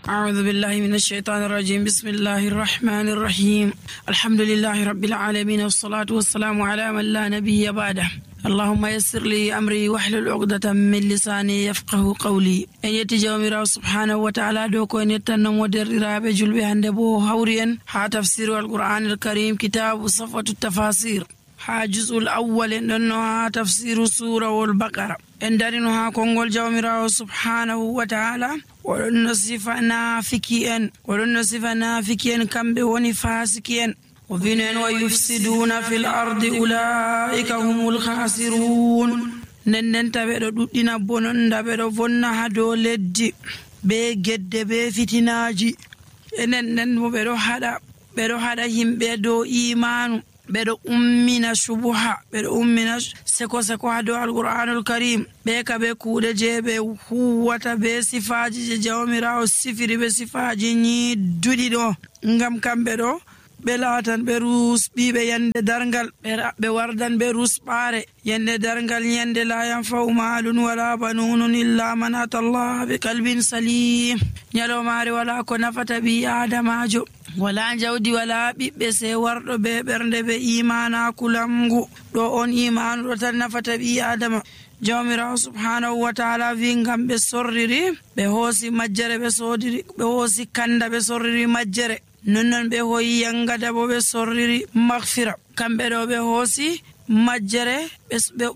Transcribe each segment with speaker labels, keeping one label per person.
Speaker 1: أعوذ بالله من الشيطان الرجيم. بسم الله الرحمن الرحيم. الحمد لله رب العالمين، والصلاة والسلام على من لا نبي بعده. اللهم يسر لي أمري واحلل عقدة من لساني يفقه قولي. أن يتجاومر سبحانه وتعالى دوكو أن يتنم ودرراب جلبي هندبو هوريا ها تفسير القرآن الكريم كتاب صفوة التفاسير ها جزء الأول إنها تفسير سورة البقرة إن دارنها كونغول جاومر سبحانه وتعالى ونصف نافكين كم بوني فاسكين وفين ويفسدون في الأرض أولئك هم الخاسرون. نن تبدو دوتنا بونن دبدو فنا هدو لدي be gedde be fitinaji enen bedo hada himbe do imanu bedo ummina shubuha bedo ummina seko hado alquranul karim be ka be kuude je be huwata be sifaji je jawmirawo sifiri be sifaji ni dudi do ngam kambe do be latan be rus bibe yande dargal be wardan be rus bare yande dargal yande la yanfa'u malun wala banun illa man atallaha bi qalbin salim. nyalo mari wala ko nafata bi adamajo wala jawdi wala bibbe se wardo be bernde be imana kulamgu do on imanu do tan nafata bi adama. jawmirawo subhanahu wa ta'ala vingam be sorriri be hosi majjere be sodiri be hosi kanda be sorriri majjere non be hoyi yangada bo be sorriri maghfira kambe do be hosi majjere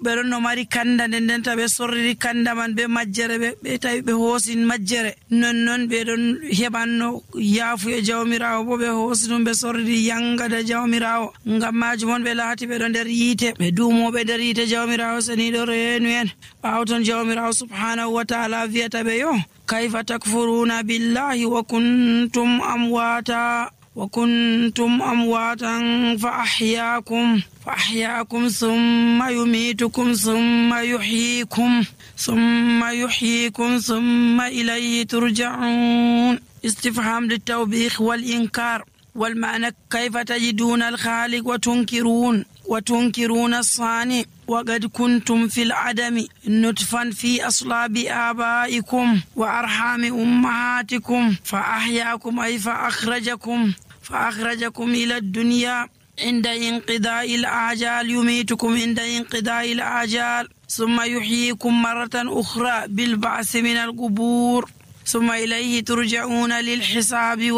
Speaker 1: be no mari kanda den ta be sorriri kanda man be majjere be tawi be hosi majjere non be don hebanno yafu e jawmirawo bo be hosi dum be sorriri yangada jawmirawo ngam majumon be laati be do der yite be dumo be der yite jawmirawo sani do reenu en bawton jawmirawo subhanahu wa ta'ala viata be yo kayfa takfuruna billahi wa kuntum amwatan fa ahyaakum thumma yumitukum thumma yuhyikum thumma ilayhi turja'un. استفهام للتوبيخ والإنكار والمعنى كيف تجدون الخالق وتنكرون الصانع وقد كنتم في العدم نطفا في أصلاب آبائكم وأرحام أمهاتكم فأحياكم أي فأخرجكم إلى الدنيا عند انقضاء الآجال يميتكم عند انقضاء الآجال ثم يحييكم مرة أخرى بالبعث من القبور ثم إليه ترجعون للحساب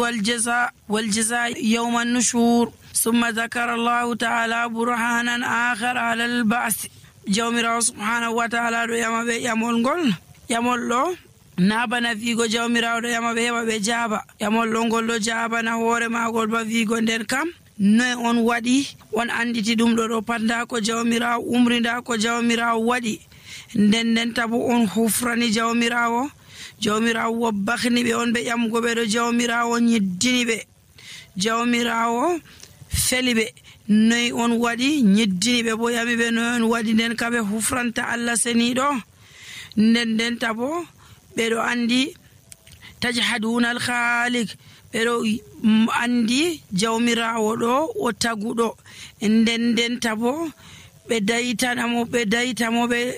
Speaker 1: والجزاء يوم النشور. ثم ذكر الله تعالى برهانا آخر على البعث. jawmirawo subhanahu wa ta'ala do yama be yamol lo nabana vigo jawmirawo do yama be heba be jaba yamol lo ngol do jaba na hore magol ba vigo nden kam noy on wadi on anditi dum do panda ko jawmirawo umrinda ko jawmirawo wadi nden tabu on hufrani jawmirawo wabbahni be on be yamgo be do jawmirawo nyiddini be jawmirawo felibe noy on wadi nyiddini be bo yami be noy on wadi nden kabe hufranta Allah senido nden tabo be do andi tajhaduna al-khaliq be do andi jawmirawo do o tagudo nden tabo be dayitamo be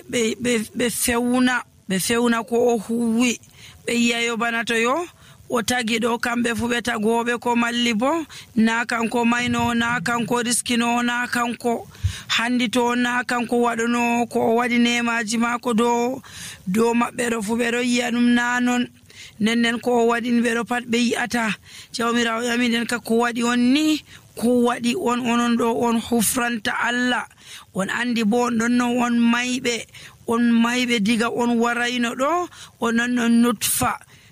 Speaker 1: fewna ko o huwi be yayo banato yo o tagi do kambe fu be tagobe ko malli bo na kanko mayno na kanko riskino na kanko handito na kanko wadono ko wadi nemaji mako do mabbe do fu be do yiyanum nanon nennen ko wadin be do pat be yiata jawmirawo yami den ka ko wadi on ni ko wadi onon do on hufranta Allah on andi bo don no on maybe diga on warayno do onon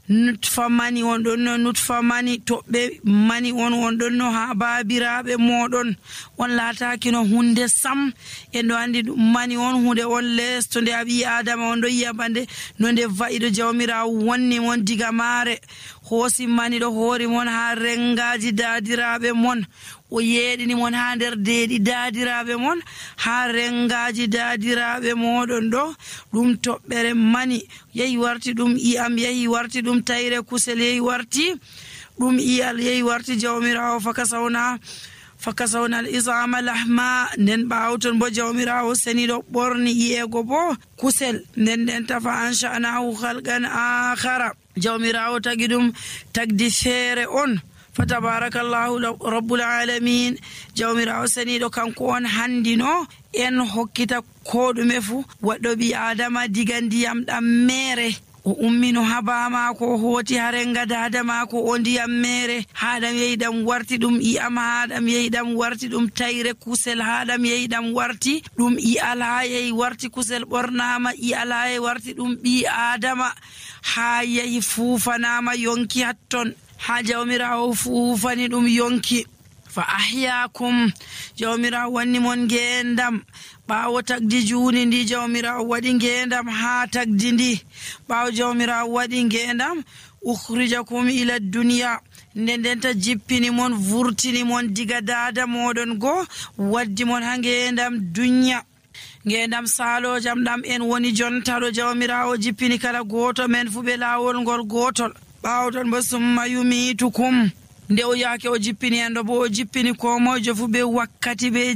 Speaker 1: nutfa mani on don no nutfa mani to be mani on don no ha babirabe modon on lataki no hunde sam endo andi mani on hunde on lesto de abi adama on do yabande no de vaido jawmira wonni mon diga mare hosi mani do hori mon ha rengaji dadirabe mon o yeedini mon ha der deedi dadirabe mon ha rengaji dadirabe modon do dum tobbere mani yeyi warti dum iam yeyi warti dum tayre kusel yeyi warti dum iyal yeyi warti jawmirawo fakasawna al isama lahma nden ɓawton bo jawmirawo seniɗo ɓorni iyego bo kusel nden tafa ansha'nahu halqan akhara jawmirawo tagi ɗum tagdi feere on fa tabarakallahu rabbul alamin jawmirawo seniɗo kanko on handino en hokkita ko ɗume fu waɗɗo ɓi adama diga ndiyam ɗam mere o ummino haba mako o hooti harenga dada mako o ndiyam mere haɗam yehi ɗam warti ɗum i'am haɗam yehi ɗam warti ɗum tayre kusel haɗam yehi ɗam warti ɗum i'al ha yehi warti kusel ɓornama i'al ha yehi warti ɗum ɓi adama ha yehi fuufanama yonki hatton ha jawmirawo fuufani ɗum yonki fa ahyakum jawmirawo wanni mon ngendam ɓawo tagdi juni ndi jawmirawo waɗi ngendam ha tagdi ndi ɓawo jawmirawo waɗi ngendam ukhrijakum ila duniya ndendenta jippini mon vurtini mon diga dada moɗon go waddi mon ha ngendam dunya ngendam salojam ɗam en woni jontaɗo jawmirawo jippini kala goto men fu ɓe lawol ngol gotol ɓawo ton bo summa yumitukum nde o yake o jippini en ɗo bo o jippini ko mojo fu ɓe wakkati ɓe